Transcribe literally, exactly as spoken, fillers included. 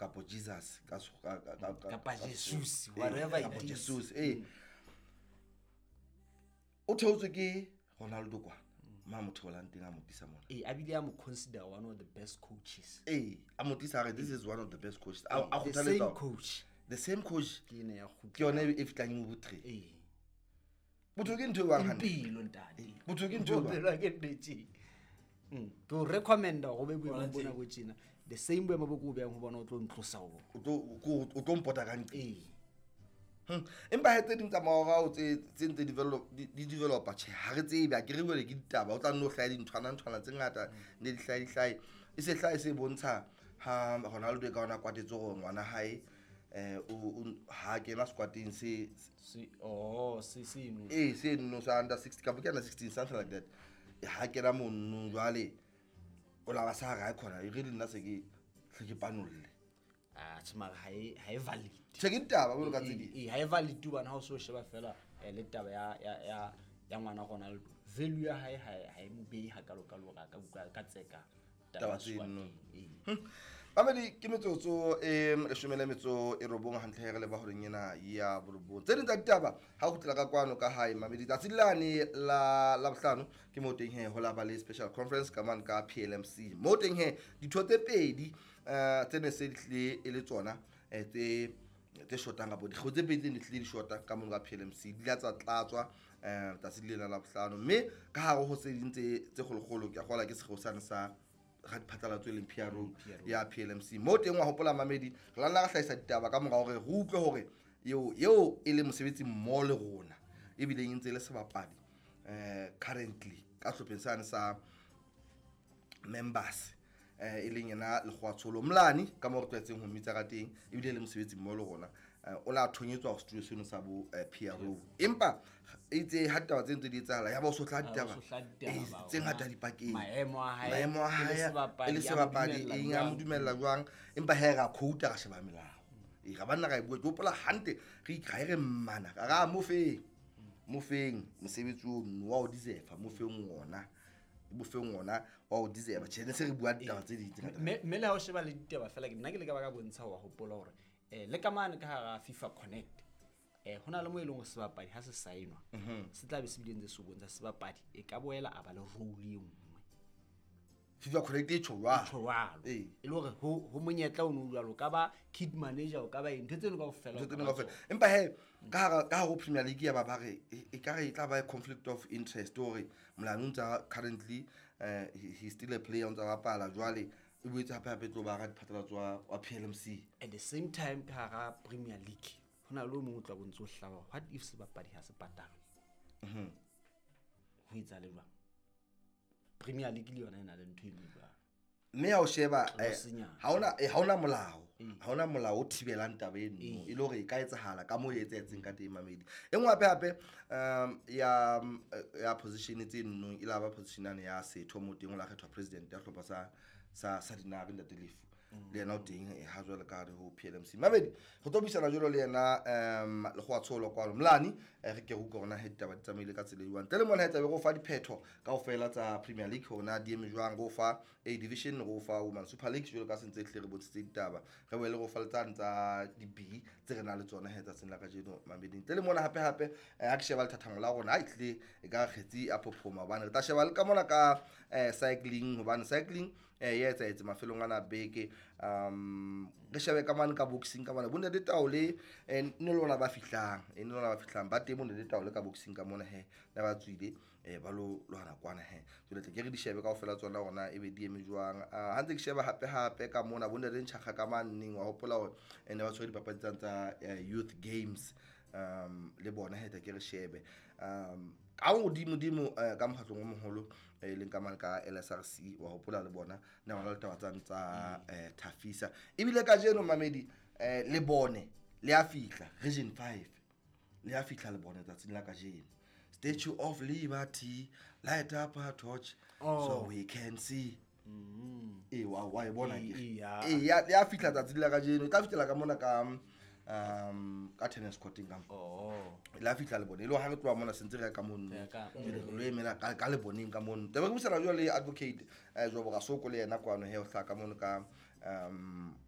Kapo Jesus ka kapa Jesus, whatever it is. Jesus. Eh, o theotswe ke Ronaldo kwana ma mo theolang teng, a mo tlisa mona. Eh, a bile a mo consider one of the best coaches. Eh, a mo tlisa, a re this is one of the best coaches. A a The same kgothaletsa coach. The same coach. Ke ene ya kgutla. Ke yone e fitlang e mo botre. Eh. Botho ke ntho e bang hantle. Impilo ntate. Botho ke ntho e bang. Bophelo ke ntho e tjena. Mm. Ke o recommenda hore o be boemong bona bo tjena. The same boemo bo ke o behang ho bona, o tlo ntlosa ho bona. O tlo ko- o tlo mpota ka ntle. Eh. Hmm. Empa he, tse ding tsa maorao tse tse ntse develop di di developa, tjhe, ha re tsebe, a ke re jwale ke ditaba, o tla nno hlahe dinthwana nthwana tse ngata, ne di hlahe di hlahe, e se hlahe se bontsha ha Ronaldo e ka ona kwatetse hore ngwana hae eh o o- ha kena squadeng se Se oh se se no. Eh, se no sa under sixty kapa ke under sixteen, something like that. Ha kena mono jwale o la ba sa ra khona e re le nna se ke hle ke panolle. Ah, tjhe, mara ha e ha e valid. Tjhe, ke ditaba jwalo ka tse ding. Eh, ha e valid hobane ha o so sheba fela eh, le taba ya ya ya ya ngwana Ronaldo. Value ya hae ha e- ha e mo behe hakalo kalo hore a ka utlwa ka tseka taba ya tseno. squad-eng. Eh. Mamedi, ke metsotso e leshome le metso e robong hantle re leba horeng ena ya borobong. Tse ding tsa ditaba ha o kgutlela ka kwano ka hae, mamedi, tsatsi lane la la bohlano ke mo teng he ho la ba le special conference ka mane ka P L M C, mo teng he ditho tse pedi eh tse ne se di tlile e le tsona eh, tse tse shotang kapo dikgeo tse pedi tse ne tlile di shota ka mono ka P L M C di la tsa tlatswa um tsatsi lena la bohlano. Mme ka hare ho tse ding tse tse kgolokgolo, ke a kgola ke sekgeo sane sa ga diphatlalatso e leng P R O ya P L M C, mo teng wa hopola, mamedi, re la nna ra hlahisa ditaba ka mora hore re utlwe hore eo eo e le mosebetsi mmoho le rona, ebileng e ntse e le sebapadi um currently ka sehlopheng sane sa members, eh e leng yena Lekgowa Mlane ka mo re tlwaetseng ho mmitsa ka teng, ebile e le mosebetsi mmoho le rona. eh, o la thonyetswa ho studio seno sa bo eh, P R O, empa itse ha ditaba tse ntse di etsahala ya ba o so tla ditaba o so hla ditaba, eh, tse ngata dipakeng. Maemo a hae maemo a e le hae sebapadi, e le a mo sebapadi dumella eng, a mo jwang? Dumella jwang? Empa he ra quota, ra sheba melao e ra banna ra e bua. Ke hopola hantle re ikra e re mmana ka ra mo feng mo feng mosebetsi ono wa o deserve, mo feng ona, mo feng ona wa o deserve. Tjhe, ne se re bua ditaba tse ding tse ngata. Mme mme le ha o sheba le ditaba fela, ke nna ke le ka ba ka bontsha wa hopola hore eh le ka mane ka hara FIFA Connect eh hona le mo e leng hore sebapadi ha se saenwa, se tla be se bile ntse se o bontsha sebapadi e ka boela a ba le role e nngwe. FIFA Connect e tjho jwalo. Tjho jwalo. Ee. E le hore ho ho monyetla o no jwalo, o ka ba kit manager, o ka ba eng, ntho tseno kaofela o Ntho ka tseno ba kaofela. tsona. Empa he ka hara ka hare ho Premier League ya ba ba re e e ka re e tla ba conflict of interest hore Molane o ntsa currently eh he he still a player, o ntsa bapala jwale, e boetse hape hape e tlo ba ra diphatlalatso wa wa P L M C. At the same time, ka hara Premier League ho na le o mong o tla bontse o hlaba, what if sebapadi ha se patalwe, ho etsahale jwang? Premier League le yona e na le ntho e jwalo. Mme ha o sheba eh, Tlosinyana. ha ona eh, ha ona molao ha ona molao o thibelang taba eno, e le hore e ka etsahala ka moo e etsahetseng ka teng, mamedi. E nngwe hape hape um ya mm, eh, ya position tse nnong e la ba position yane ya setho mo teng o la kgethwa president ya hlopha sa sa sa Dinare, ntate Lefu, le yena o teng eh, ha jwale ka hare ho P L M C. Mamedi, re tlo buisana jwalo le yena um Lekgowa Tsholo kwano Mlane, eh, re ke re utlwe hore na he ditaba di tsamaile ka tsela e jwang. Ntle le mona he tlabe re o fa diphetho kaofela tsa Premier League, hore na di eme jwang, re o fa A Division, re o fa Women Super League jwalo ka se ntse hle re bontshitse ditaba, re boele re o fa le tsane tsa di-B tse re nang le tsona he tsatsing la kajeno, mamedi. Ntle le mona hape hape eh, ha ke sheba lethathamo la rona, ha e tlile e ka kgetsi a phophoma, hobane re tla sheba le ka mona ka eh, cycling, hobane cycling eh, e etsahetse mafelong ana a beke. um re shebe ka mane ka boxing ka mane, bontate Taole eh, ne le ona ba fihlang eh, ne le ona ba fihlang ba teng, bontate Taole ka boxing ka mona he ne ba tswile eh, ba lo lwana kwana he. Jwale tle ke re di shebe kaofela tsona hore ebe di eme jwang. Ah, ha ntse ke sheba hape hape ka mona, bontate Ntšhakga ka maneng, wa hopola hore eh, ne ba tshwere dipapadi tsane tsa eh, youth games um le bona he, tla ke re shebe um ka hodimo dimo eh, ka mokgatlong o moholo e leng ka mane ka L S R C, wa hopola le bona ne ba na le taba tsane tsa eh, Thafisa. Ebile kajeno, mamedi, eh, le bone le a fihla Region five, le a fihla le bone tsatsing la kajeno. Statue of Liberty, light up a torch Oh. so we can see. Ee, wa wa e bona Ee, ke ee, ya. ee, ya ya fihla tsatsing la kajeno, e tla fihlela ka mona ka um ka tennis courteng ka mo. Oh. La fihla le bone e le hore ha re tloha mona sentse re ya ka mono. Re ya ka- Jwale re lo emela ka ka leboneng ka mono. Tebe re buisana jwale le advocate eh Jobo Rasoko, le yena kwano he o hlaha ka mono ka um